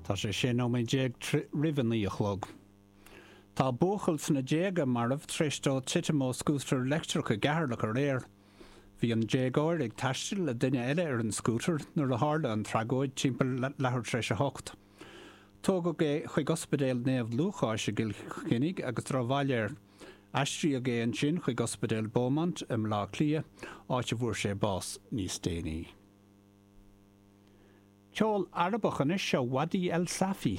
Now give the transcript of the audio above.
Tá sé 16 nóiméad roimh a 9 a chlog. Tá buachaill sna déaga marbh tar éis dó titim ó scútar leictreach i gCeatharlach aréir. Bhí an déagóir ag taisteal le duine eile ar an scútar nuair a tharla an tragóid timpeall leathuair tar éis a hocht. Tógadh é chuig Ospidéal Naomh Lúcáis i gCill Chainnigh agus drochbhail air. Aistríodh é ansin chuig Ospidéal Beaumont i mBleá Cliath, áit a bhfuair sé bás níos déanaí. Ceol Arabach anois ó Wadih El Safi.